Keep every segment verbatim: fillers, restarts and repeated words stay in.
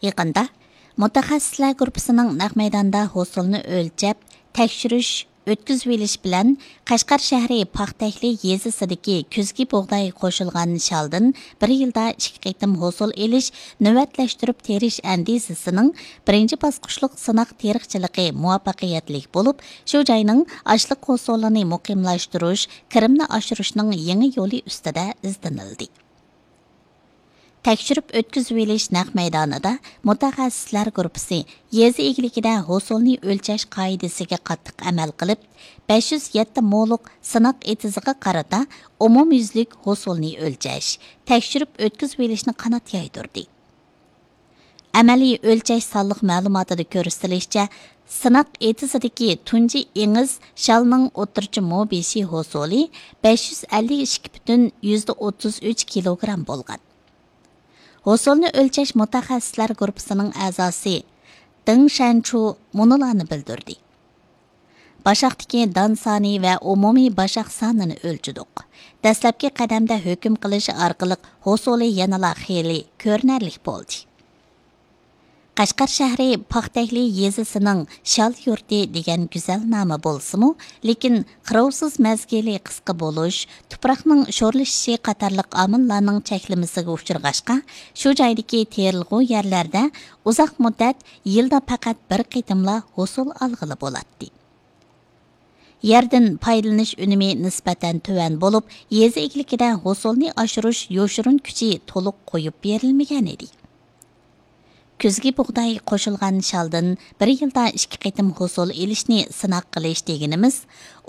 يېقىندا مۇتەخەسسىسلەر گۇرۇپپىسىنىڭ نەق مەيداندا ھوسۇلنى ئۆلچەپ، تەكشۈرۈش، ئۆتكۈزۈۋېلىش بىلەن قەشقەر شەھىرى پاختەكلى يېزىسىدىكى كۈزگى بۇغداي قوشۇلغان شالدىن بىر يىلدا ئىككى قېتىم ھوسۇل ئېلىش نۆۋەتلەشتۈرۈپ تېرىش ئەندىزىسىنىڭ بىرىنچى باسقۇچلۇق سىناق تېرىقچىلىقى مۇۋەپپەقىيەتلىك بولۇپ، شۇ جاينىڭ ئاشلىق ھوسۇلىنى مۇقىملاشتۇرۇش، كىرىمنى ئاشۇرۇشنىڭ يېڭى يولى ئۈستىدە ئىزدىنىلدى. تەكشۈرۈپ ئۆتكۈزۈۋېلىش نەق مەيدانىدا مۇتەخەسسىسلەر گۇرۇپپىسى يېزا ئىگىلىكىدە ھوسۇلنى ئۆلچەش قائىدىسىگە قاتتىق ئەمەل قىلىپ، بەش يۈز يەتتە مولۇق سىناق ئېتىزىغا قارىتا ئومۇميۈزلۈك ھوسۇلنى ئۆلچەش، تەكشۈرۈپ ئۆتكۈزۈۋېلىشنى قانات يايدۇردى. ئەمەلىي ئۆلچەش سانلىق مەلۇماتىدا كۆرسىتىلىشىچە، سىناق ئېتىزىدىكى تۇنجى ئېڭىز شالنىڭ ئوتتۇرىچە مو بېشى ھوسۇلى بەش يۈز ئەللىك ئىككى پۈتۈن يۈزدە ئوتتۇز ئۈچ كىلوگرام بولغان. ھوسۇلنى ئۆلچەش مۇتەخەسسىسلەر گۇرۇپپىسىنىڭ ئەزاسى دېڭ شەنچۇ مۇنۇلارنى بىلدۈردى: باشاقتىكى دان سانى ۋە ئومۇمىي باشاق سانىنى ئۆلچىدۇق. دەسلەپكى قەدەمدە ھۆكۈم قىلىش ئارقىلىق ھوسۇلى يەنىلا خېلى كۆرۈنەرلىك بولدى. قەشقەر شەھىرى پاختەكلى يېزىسىنىڭ شال يۇرتى دېگەن گۈزەل نامى بولسىمۇ، لېكىن قىروۋسىز مەزگىلى قىسقا بولۇش، تۇپراقنىڭ شورلىشىشى قاتارلىق ئامىللارنىڭ چەكلىمىسىگە ئۇچرىغاچقا، شۇ جايدىكى تېرىلغۇ يەرلەردە ئۇزاق مۇددەت، يىلدا پەقەت بىر قېتىملا ھوسۇل ئالغىلى بولاتتى. يەردىن پايدىلىنىش ئۈنۈمى نىسبەتەن تۆۋەن بولۇپ، يېزا ئىگىلىكىدە ھوسۇلنى ئاشۇرۇش يوشۇرۇن كۈچى تولۇق قويۇپ بېرىلمىگەن ئىدى. كۈزگى بۇغداي قوشۇلغان شالدىن بىر يىلدا ئىككى قېتىم ھوسۇل ئېلىشنى سىناق قىلىش دېگىنىمىز،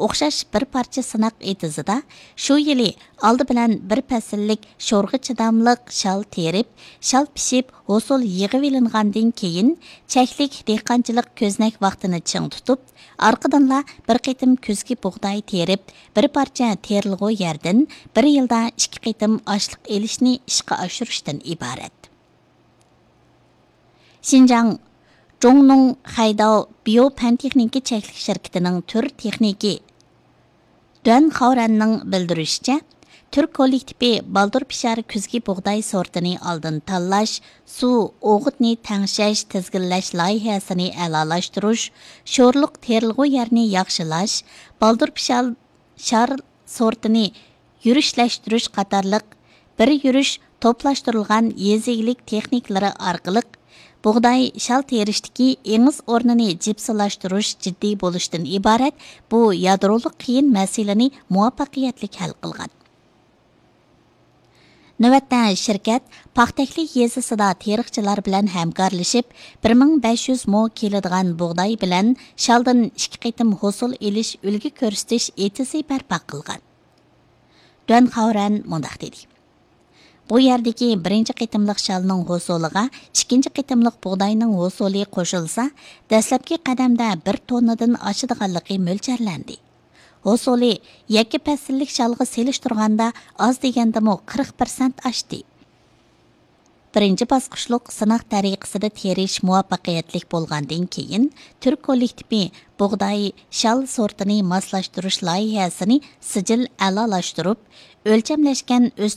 ئوخشاش بىر پارچە سىناق ئېتىزىدا شۇ يىلى ئالدى بىلەن بىر پەسىللىك شورغا چىداملىق شال تېرىپ، شال پىشىپ، ھوسۇل يىغىۋېلىنغاندىن كېيىن، چەكلىك دېھقانچىلىق كۆزنەك ۋاقتىنى چىڭ تۇتۇپ، ئارقىدىنلا بىر قېتىم كۈزگى بۇغداي تېرىپ، بىر پارچە تېرىلغۇ يەردىن بىر يىلدا ئىككى قېتىم ئاشلىق ئېلىشنى ئىشقا ئاشۇرۇشتىن ئىبارەت. شىنجاڭ جۇڭنۇڭ خەيداۋ بىيو پەن تېخنىكا چەكلىك شىركىتىنىڭ تۈر تېخنىكى دۈەن خاۋرەننىڭ بىلدۈرۈشىچە، تۈر كوللېكتىپى بالدۇر پىشار كۈزگى بۇغداي سورتىنى ئالدىن تاللاش، سۇ، ئوغۇتنى تەڭشەش، تىزگىنلەش لايىھەسىنى ئەلالاشتۇرۇش، شورلۇق تېرىلغۇ يەرنى ياخشىلاش، بالدۇر پىشار شار سورتىنى يۈرۈشلەشتۈرۈش قاتارلىق بىر يۈرۈش توپلاشتۇرۇلغان يېزا ئىگىلىك تېخنىكىلىرى ئارقىلىق بۇغداي شال تېرىشتىكى ئېڭىز ئورنىنى جىپسىلاشتۇرۇش جىددىي بولۇشتىن ئىبارەت بۇ يادرولۇق قىيىن مەسىلىنى مۇۋەپپەقىيەتلىك ھەل قىلغان. نۆۋەتتە شىركەت پاختەكلى يېزىسىدا تېرىقچىلار بىلەن ھەمكارلىشىپ، بىر مىڭ بەش يۈز مو كېلىدىغان بۇغداي بىلەن شالدىن ئىككى قېتىم ھوسۇل ئېلىش ئۈلگە كۆرسىتىش ئېتىزى بەرپا قىلغان. دۈەن خاۋرەن مۇنداق دېدى: بۇ يەردىكى بىرىنچى قېتىملىق شالنىڭ ھوسۇلىغا ئىككىنچى قېتىملىق بۇغداينىڭ ھوسۇلى قوشۇلسا، دەسلەپكى قەدەمدە بىر توننىدىن ئاشىدىغانلىقى مۆلچەرلەندى. ھوسۇلى يەككە پەسىللىك شالغا سېلىشتۇرغاندا ئاز دېگەندىمۇ قىرىق پىرسەنت ئاشتى. بىرىنچى باسقۇچلۇق سىناق تەرىقىسىدە تېرىش مۇۋەپپەقىيەتلىك بولغاندىن كېيىن، تۈر كوللېكتىپى بۇغداي، شال سورتىنى ماسلاشتۇرۇش لايىھەسىنى سىجىل ئەلالاشتۇرۇپ، ئۆلچەملەشكەن